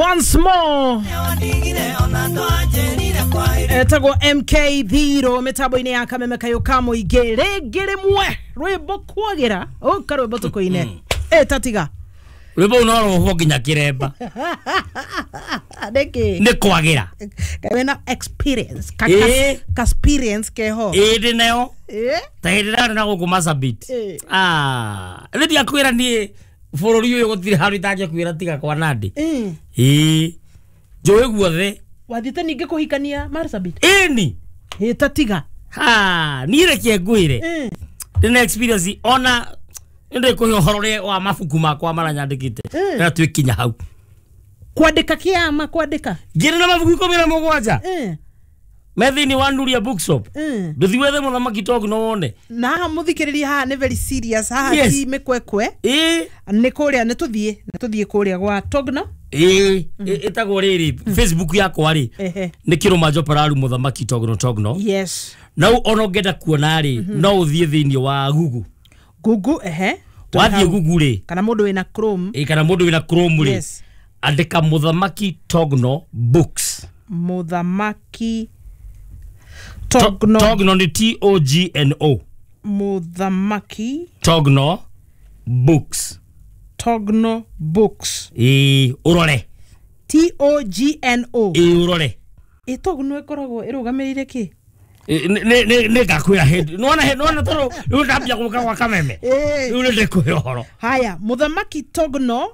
Once more etagwo MK Thiro mitambo-inĩ ya Kameme Kayũ ka Mũingĩ rĩngĩ rĩmwe rwĩmbo kwagira ũka rwĩmbo tũkũine ĩtatiga rwĩmbo no rũhwo nginya kĩremba nĩkĩ nĩ kwagira wĩna experience ka experience keho ĩĩ ndĩ nayo ta hĩndĩ ndarĩ na gũkũ Marsabit nĩ ndiakwĩra niĩ bũrũri ũyũ gũtirĩ handũ itangĩkwĩra tiga kwa Nandi ĩĩ njũĩ guothe wathiĩte ningĩ kũhikania Marsabit ĩni ĩtatiga niĩ reke ngwĩre ndĩna experience ona nĩndĩkũhe ũhoro ũrĩa wa mabuku makwa marĩa nyandĩkĩte na twĩkinya hau kwandĩka kĩama kwandĩka ngĩrĩ na mabuku 17 me thĩinĩ wa Nuria Bookshop ndũthi wethe Mũthamaki Togno wone na haha mũthikĩrĩria haha nĩ very serious haha ti mĩkwekwe nĩ kũrĩa nĩ tũthiĩ kũrĩa gwa Togno ĩĩ ĩtagwo rĩrĩ Facebook yakwa rĩ nĩ Kĩrũma Njopararu Mũthamaki Togno Togno. Yes. Na ona ũngĩenda kuona rĩ no ũthiĩ thĩinĩ wa Google. Google ehe wathiĩ Google rĩ kana mũndũ wĩna Chrome kana mũndũ wĩna Chrome rĩ andĩka Mũthamaki Togno Books. Mũthamaki Togno. Togno nĩ T O G N O. Mũthamaki Togno Books. Togno Books. Ĩĩ ũrore T O G N O. Ĩĩ ũrore ĩ Togno ĩkoragwo ĩrũgamĩrĩire kĩ? Nĩ ngakwĩra hĩndĩ nĩwona tondũ rĩu ndambia gũka gwa Kameme rĩu nĩ ndĩkũhe ũhoro. Haya, Mũthamaki Togno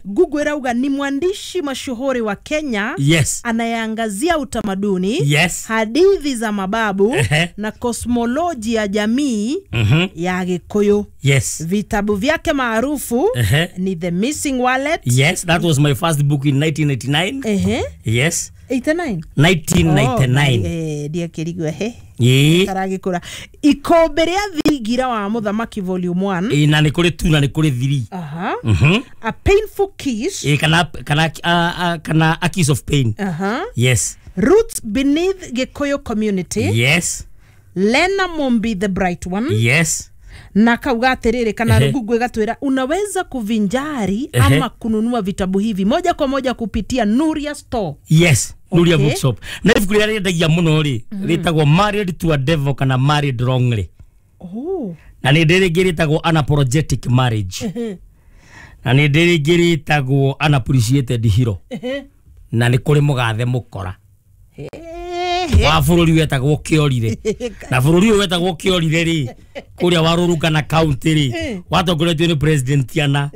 Google ĩrauga ni mwandishi mashuhuri wa Kenya. Yes. Anayeangazia utamaduni. Yes. Hadithi za mababu na kosmoloji ya jamii ya Gikuyu. Yes. Vitabu vyake maarufu ni The Missing Wallet. Yes, that was my first book in 1989. Yes. 89? 1999. Ndiakĩrigua he karagĩkũra Ikombe rĩa Thingira wa Mũthamaki volume 1 na nĩ kũrĩ 2 na nĩ kũrĩ 3. Aha. A Painful Kiss kana A Kiss of Pain. Yes. Roots Beneath Gikuyu Community. Yes. Lena Mombi the Bright One. Yes. Na kauga atiriri kana Google ĩgatwĩra unaweza kuvinjari ama kununua vitabu hivi moja kwa moja kupitia Nuria Store. Yes. Nuria Bookshop. Na ibuku rĩrĩa rĩendagia mũno rĩ rĩtagwo Married to a Devil kana Married Wrongly. Oh. Na nĩ ndĩ rĩngĩ rĩtagwo Unapologetic Marriage. Na nĩ ndĩ rĩngĩ rĩtagwo Unappreciated Hero. Na nĩ kũrĩ mũgathe mũkora wa bũrũri wetagwo Kĩorire. Na bũrũri ũyũ wetagwo Kĩorire rĩ kũrĩa wa Rũrũngana county rĩ watongoretio nĩ president ana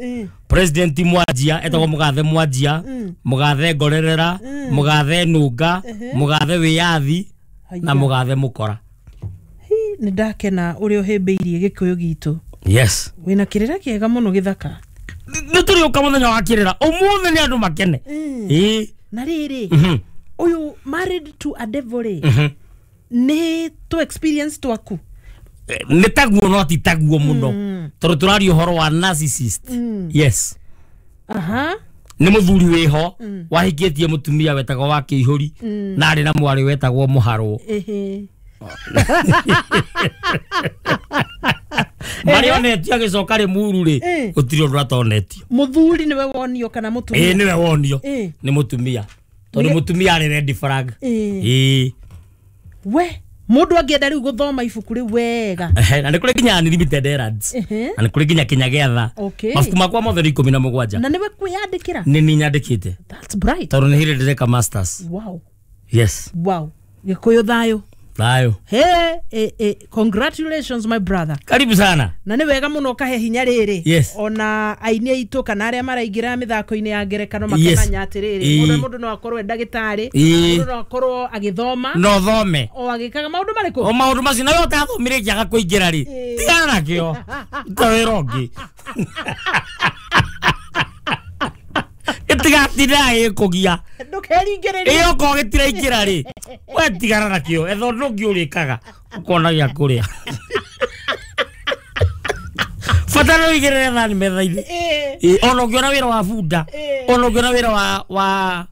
president Mwanjia etagwo mũgathe Mwanjia, mũgathe Ngorerera, mũgathe Nunga, mũgathe Wĩyathi na mũgathe Mũkora. Nĩ ndakena ũrĩa ũhĩmbĩirie Gĩkũyũ gitũ. Yes. Wĩna kĩrĩra kĩega mũno gĩthaka. Nĩ tũrĩũka mũthenya wa kĩrĩra ũmũthĩ nĩ andũ makene. Ĩĩ. Na rĩrĩ ũyũ Married to a Devil rĩ nĩ to experience twaku nĩ taguo no ti taguo mũno tondũ tũraria ũhoro wa narcissist. Yes. Aha. Nĩ mũthuri wĩho wahikĩtie mũtumia wetagwo wa Kĩihũri na arĩ na mwarĩ wetagwo Mũharwo. Marĩa onetio agĩcoka rĩ muru rĩ gũtirĩ ũndũ atonetio. Mũthuri nĩwe wonio kana mũtumia? Ĩĩ nĩwe wonio nĩ mũtumia tondũ mũtumia arĩ red flag. Ĩĩ. We mũndũ angĩenda rĩu gũthoma ibuku rĩu wega. Na nĩ kũrĩ nginya Unlimited Errands. Na nĩ kũrĩ nginya Kinya Gĩatha. Mabuku makwa mothe nĩ 17. Na nĩwe kwĩyandĩkĩra? Nĩ niĩ nyandĩkĩte. That's bright. Tondũ nĩ hĩndĩ ndĩreka masters. Wow. Yes. Wow. Gĩkũyũ thayũ. Thayũ. Hey, congratulations my brother. Karibu sana. Na nĩ wega mũno ũkahe hinya rĩrĩ. Yes. Ona aini aitũ kana arĩa maraingĩra mĩthako-inĩ ya ngerekano makamenya atĩrĩrĩ mũndũ no akorwo e ndagĩtarĩ, mũndũ no akorwo agĩthoma. No thome. O agĩkaga maũndũ marĩkũ? O maũndũ macio na we ũtathomire kĩaga kũingĩra rĩ. Tigana nakĩo. Ta wĩra ũngĩ. Ĩtigatinda ĩkũgia. Ndũkeringĩrĩrie. Ĩ okorwo gĩtiraingĩra rĩ we tigana nakĩo etha ũndũ ũngĩ ũrĩkaga ũkona gĩa kũrĩa. Bata no ũigĩrĩre thani metha-inĩ. Ona ũngĩona wĩra wa bunda, ona ũngĩona wĩra wa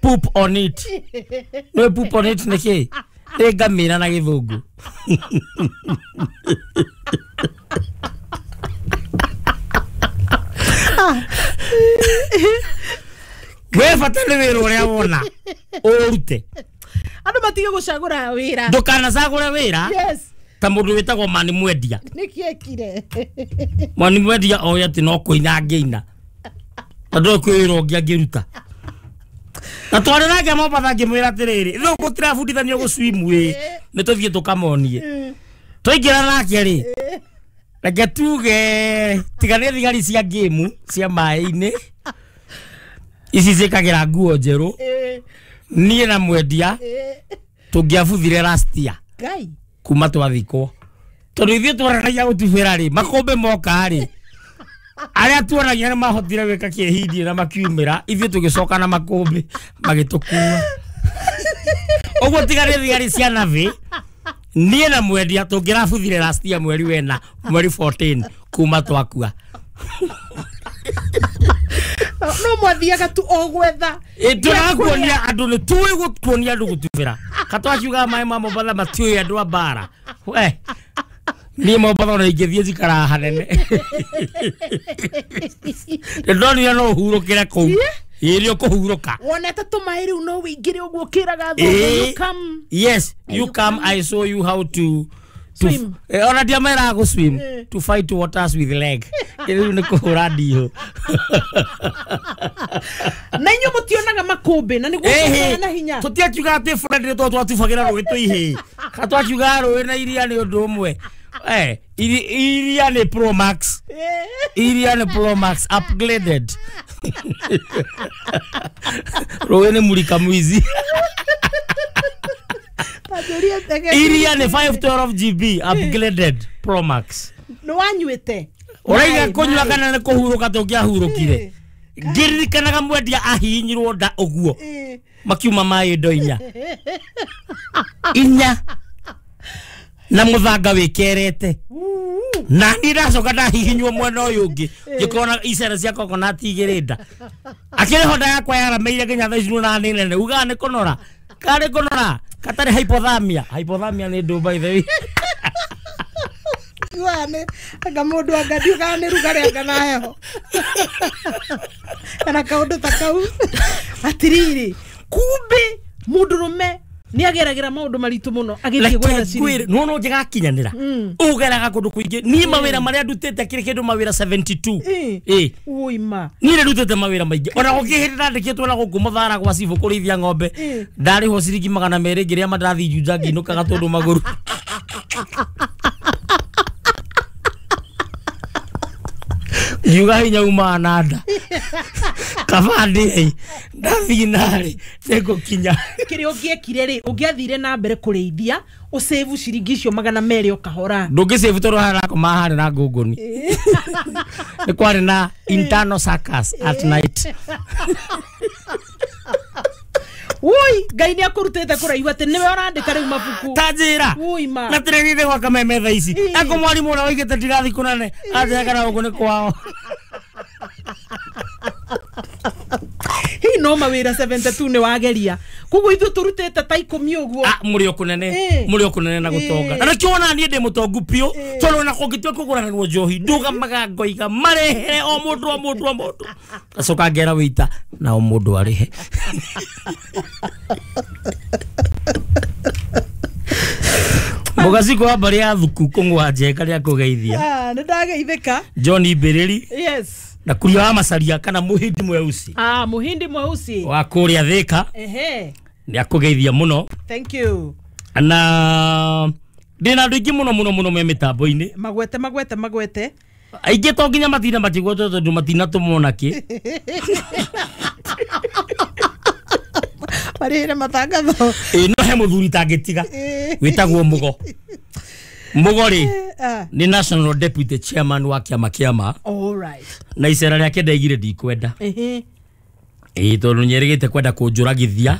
poop on it. Nĩ poop on it nĩ kĩ? Nĩ ngamĩra na gĩthũngũ. We Bata nĩ wĩra ũrĩa wona ũrute. Andũ matige gũcagũra wĩra. Ndũkanacagũre wĩra. Yes. Ta mũndũ wĩtagwo Mani Mwendia. Nĩkĩ ekire? Mani Mwendia oĩ atĩ no kũina angĩina. Tondũ kwĩ wĩra ũngĩ angĩruta. Na twarĩ nake Mombatha ngĩmwĩra atĩrĩrĩ, rĩu gũtirabundithanio gũswim ĩ, nĩ tũthiĩ tũkamonie. Twaingĩra nake rĩ, reke tuge tiga nĩ thigari cia ngĩmu cia maĩ-inĩ ici ciĩkagĩra nguo njerũ, niĩ na Mwendia tũngĩabuthire last year Ngai kuma twathikwo, tondũ ithuĩ twaranagia gũtubĩra rĩ, makũmbĩ moka rĩ, arĩa tuonagia nĩ mahotire gwĩka kĩhindie na makiumĩra, ithuĩ tũgĩcoka na makũmbĩ magĩtũkua. Ũguo tiga nĩ thigari cia navĩ, niĩ na Mwendia tũngĩrabuthire last year mweri wena, mweri 14 kuma twakua. No mwathiaga tu o gwetha. Tũrakuonia andũ nĩ tũĩ gũkuonia andũ gũtubĩra. Katwaciugaga maĩ ma Mombatha matiũĩ andũ a mbara. We niĩ Mombatha ona ingĩthiĩ njikaraga hanene. Nĩndonire no ũhurũkĩre kũu. Ĩĩ nĩ ũkũhurũka. Wonete tũmaĩ rĩu no wĩingĩre ũguo ũkĩraga thũngũ, you come. Yes, you come, I show you how to swim. Ona ndiameraga gũ swim, to fight waters with leg. Rĩu nĩ kũhũra ndihũ. Na inyuĩ mũtionaga makũmbĩ na nĩguo kũgĩa na hinya. Tũtiakiuga atĩ Fred nĩ tondũ twatubagĩra rũĩ twĩ ihĩĩ. Ka twakiugaga rũĩ na iria nĩ ũndũ ũmwe. Iria nĩ Pro Max. Iria nĩ Pro Max upgraded. Rũĩ nĩ mũrika mwizi. Iria nĩ 512 GB upgraded Pro Max. Nĩ wanyuĩte? Ũraiga kũnyua kana nĩ kũhurũka tũngĩahurũkire. Ngĩririkanaga Mwendia ahihinyirwo nda ũguo. Makiuma maĩ ndo inya. Inya. Na mũthanga wĩkerete. Na niĩ ndacoka ndahihinywo mwena ũyũ ũngĩ. Ngĩkona icere cia coconut igĩrĩ nda. Akĩrĩ ho nda yakwa yarameire nginya thaa ici nĩ nene. Ugaga nĩ kũnora. Karĩ kũnora. Katarĩ hypothermia. Hypothermia nĩ ndũ by the way. Wane, anga mũndũ anga ndiugaga nĩ rugarĩ anga na heho. Kana kaũndũ ta kau. Atiriri, kumbe mũndũrũme nĩ ageragĩra maũndũ maritũ mũno agĩthiĩ gwetha ciringi. No no njĩgakinyanĩra. Ũgeraga kũndũ kũingĩ. Niĩ mawĩra marĩa ndutĩte kĩrĩ kĩndũ mawĩra 72. Ũima. Niĩ nĩ ndutĩte mawĩra maingĩ. Ona gũkĩ hĩndĩ ndandĩkĩtwo na gũkũ Mũthara gwa cibũ kũrĩithia ng'ombe. Ndarĩhwo ciringi 200 ngĩrĩa mandathi Juja ngĩinũkaga tondũ magũrũ. Yuga hinya umaga na nda. Kaba ndĩe ndathiĩ narĩ nĩngũkinya. Kĩrĩa ũngĩekire rĩ, ũngĩathire na mbere kũrĩithia, ũsave ciringi icio 200 o kahora. Ndũngĩsave tondũ harĩa ũrakoma harĩ na ngũngũni. Nĩ kwarĩ na internal circus at night. Ui, Ngai nĩ akũrutĩte kũraihu atĩ nĩwe ũrandĩka rĩu mabuku. Ta njĩra. Ui ma. Na tũrĩgĩte gwa Kameme thaa ici. Ako mwarimũ ũrĩa waigĩte ndirathiĩ kũnene, anjĩraga na gũkũ nĩ kwao. Hihi no mawĩra 72 nĩ wageria. Koguo ithuĩ tũrutĩte ta 10 ũguo. Mũrĩ o kũnene, mũrĩ o kũnene na gũtonga. Na nĩkĩo wona niĩ ndĩ mũtongu biũ, tondũ ona kũngĩtua kũgũranĩrwo njohi, ndũgamaga ngoiga marehere o mũndũ o mũndũ o mũndũ. Ngacoka ngera wĩita na o mũndũ arĩhe. Mũgaciko wa mbarĩ ya thuku kũng'wa njenga rĩa kũgeithia. Nĩ ndageithĩka. John Mbĩrĩri. Yes. Na kuria wa Macaria kana Mũhindi Mweusi. Mũhindi Mweusi. Wa kũrĩa Thĩka. Nĩ akũgeithia mũno. Thank you. Na ndĩna andũ aingĩ mũno mũno mũno me mĩtambo-inĩ. Magwete magwete magwete. Aingĩ to nginya matinda matigwetwo tondũ matinatũmwo nakĩ. Marĩhĩre matangatho. No he mũthuri tangĩtiga wĩtagwo Mũgo. Mũgo rĩ nĩ National Deputy Chairman wa kĩama kĩama. All right. Na icera rĩake ndaigire ndikwenda. Tondũ nĩerĩgĩte kwenda kũnjũragithia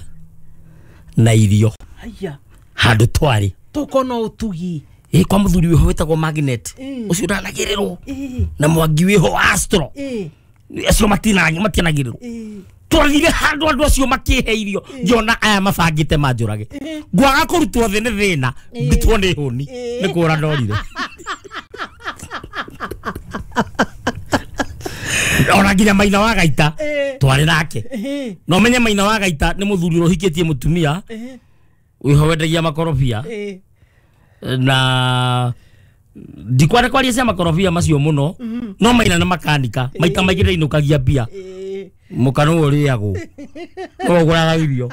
na irio. Haya. Handũ twarĩ. Tũkona ũtugi. Kwa mũthuri wĩho wĩtagwo Magnet. Ũcio ũranagĩrĩrwo. Na mwangi wĩho Astro. Acio matinagĩrĩrwo. Twathire handũ andũ acio makĩhe irio ngĩona aya mabangĩte manjũrage. Ngwaga kũrutwo thĩ nĩ thĩna, ndutwo nĩ hũni, nĩ kũra ndorire. Ona nginya Maina wa Gaita twari nake. No menye Maina wa Gaita ni muthuri urohikitie mutumia wiho wendagia makorobia na ndikware kwaria cia makorobia macio muno no Maina na makanika maita maingĩ ndainukagia mbia mukano uriagwo no uguraga irio.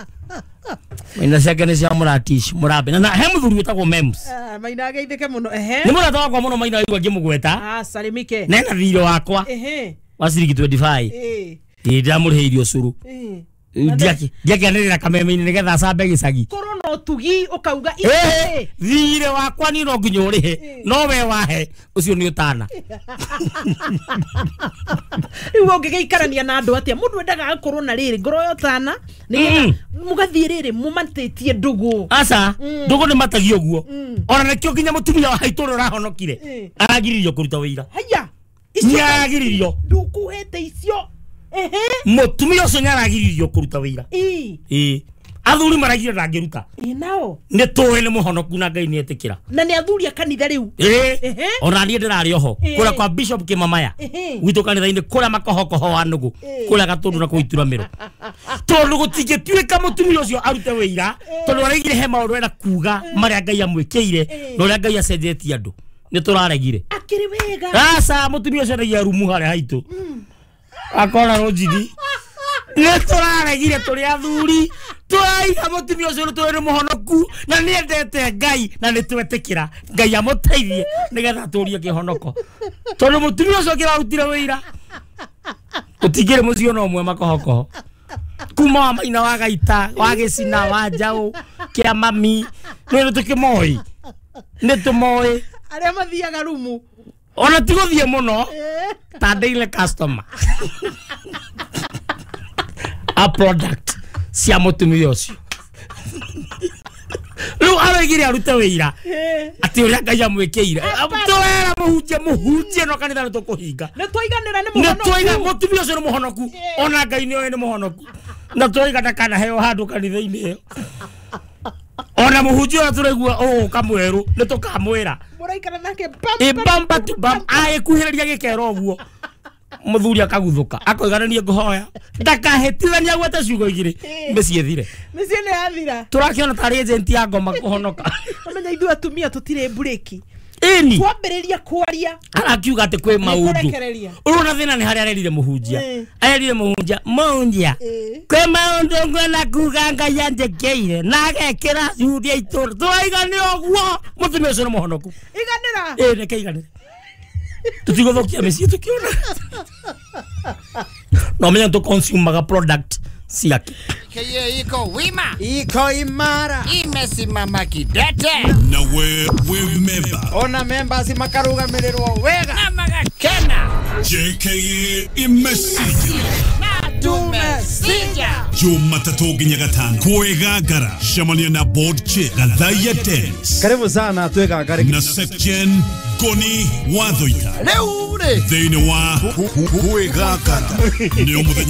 Maina ciake nĩ cia mũratish mũrambe na he mũthuri wĩtagwo Mems. Maina ageithĩke mũno. Nĩ mũrata wakwa mũno Maina waigua ngĩmũgweta. Salimike. Nena thirĩ wakwa wa ciringi 25. Ndĩramũrĩhĩirie ũcũrũ. Ndiakĩanĩrĩra kameme-inĩ nĩgetha acambe gĩcagi. Korwo na ũtugi ũkauga thirĩ wakwa niĩ no nginya ũrĩhe no we wahe ũcio nĩ ũtana. Rĩu ũngĩgĩikarania na andũ atĩa mũndũ endaga akorwo na rĩrĩ ngoro ya ũtana nĩgetha mũgathiĩ rĩrĩ mũmatĩtie ndũgũ. Aca ndũgũ nĩ matagio ũguo. Ona nĩkĩo nginya mũtumia wa haitũ ũrĩa ũrahonokire aragiririo kũruta wĩira. Haya nĩaragiririo ndũkũhete icio. Mũtumia ũcio nĩaragiririo kũruta wĩira. Athuri maragire ndangĩruta. Nao nĩ tũĩ nĩ mũhonoku na Ngai nĩetĩkĩra. Na nĩ athuri a kanitha rĩu. Ona niĩ ndĩrarĩ oho kũrĩa kwa Bishop Kĩmamaya gwitũ kanitha-inĩ kũrĩa makohokoho wa nũgũ kũrĩa Gatũndũ na kũu Ituramĩro. Tondũ gũtingĩtuĩka mũtumia ũcio arute wĩira tondũ araigire he maũndũ enda kuga marĩa Ngai amwĩkĩire na ũrĩa Ngai acenjetie andũ. Nĩ tũraregire. Akĩrĩ wega. Aca mũtumia ũcio endagia rumu harĩa haitũ. Akora rũnjigi. Nĩ tũraregire tũrĩ athuri twaiga mũtumia ũcio nĩ tũĩ nĩ mũhonoku na nĩ endete Ngai na nĩ twetĩkĩra Ngai amũteithie nĩgetha atũrie kĩhonoko. Tondũ mũtumia ũcio kĩrarutire wĩira ũtingĩrĩ mũciĩ ona ũmwe makohokoho kuma wa Maina wa Gaita wa Gĩcina wa Njaũ kĩa mami nĩ tũkĩmoĩ nĩ tũmoĩ arĩa mathiaga rumu ona ti gũthiĩ mũno ta daily customer a product cia mũtumia ũcio. Rĩu aroigire arute wĩira atĩ ũrĩa Ngai amwĩkĩire. Tũrera mũhunjie mũhunjie no kanitha nĩ tũkũhinga. Nĩ twaiganĩra nĩ mũhonoku. Nĩ twaiga mũtumia ũcio nĩ mũhonoku ona Ngai nĩoĩ nĩ mũhonoku. Na twaiga ndakanaheo handũ kanitha-inĩ ĩyo. Ona mũhunjia ũrĩa tũraigua ũgũka mwerũ nĩ tũkamwĩra. Mũraikara nake bam bam tu bam agĩkuhĩrĩria gĩkero ũguo mũthuri akaguthũka akoiga nĩ niĩ ngũhoya ndakahĩtithania agwete ciugo igĩrĩ mĩciĩ ĩthire. Mĩciĩ nĩ yathira. Tũrakĩona tarĩ agent ya ngoma kũhonoka. Ũmenya ithuĩ atumia tũtirĩ mburĩki. Ĩni twambĩrĩria kwaria arakiuga atĩ kwĩ maũndũ. Ũrona thĩna nĩ harĩa arerire mũhunjia. Arerire mũhunjia mũhunjia kwĩ maũndũ ngwenda kuga Ngai anjĩkĩire na agekĩra curia itũra. Tũraiga nĩ ũguo mũtumia ũcio nĩ mũhonoku. Iganĩra. Reke iganĩre. Tũtigũthũkia mĩciĩ tũkĩona. No menya tũconsumaga product ciake. Keye iko wima. Iko imara. Imesimama kidete. Na we member. Ona members makarugamirĩrwo wega. Na magakena. JKA imesija. Na tumesija. Jumatatu nginya Gatano. Kwĩgangara. Cemania na board chair Gathaiya Dennis. Karibu sana twĩgangare. Na Sekjen Goni Wathoita. Rĩu rĩ. Thĩinĩ wa Kwĩgangara. Nĩ mũthenya